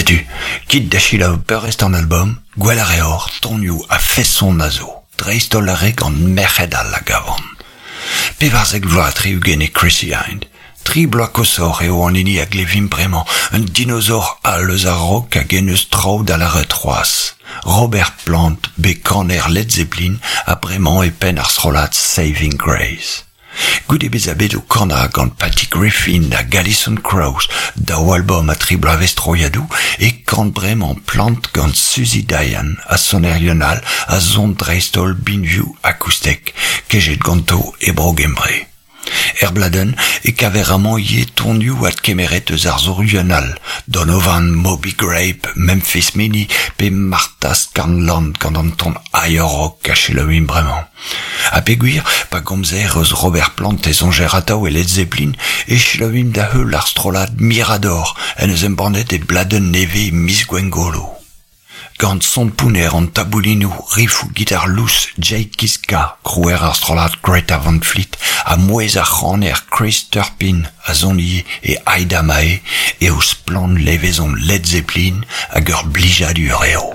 Setu, kit da selaou peurrest an albom, gwell a reor, tonioù a-feson a zo, dreist-holl ar re gant merc'hed all a gavan. 14 vloaz ha 60 eo Chrissie Hynde. Tri bloaz koshoc'h eo an hini a glevimp bremañ, un dinosaur all eus ar rock hag en deus traoù da lâret c'hoazh. Robert Plant, bet kaner Led Zeppelin ha bremañ e penn ar strollad Saving Grace. Goude bezañ bet o kanañ gant Patty Griffin hag Alison Krauss, daou albom ha tri bloavezh troiadoù, e kan bremañ Plant gant Suzi Diane ha sonerien all a son dreist-holl binvioù akoustek, kejet ganto e Bro-Gembre. Er bladenn e kaver amañ ivez tonioù adkemeret eus arzourien all, Donovan, Moby Grape, Memphis Minnie pe Martha Scanlan gant an ton higher rock a selaouimp bremañ. Ha peogwir, pa gomzer eus Robert Plant e soñjer atav e Led Zeppelin, e selaouimp da heul ar strollad Mirador en deus embannet e bladenn nevez miz Gwengolo. Gant son pounner an taboulinoù, rifoù gitar lous Jake Kiszka, krouer ar strollad Greta Van Fleet, ha mouezh ar c'haner Chris Turpin a son ivez e Aida Mae, eo splann levezon Led Zeppelin hag ur blijadur eo.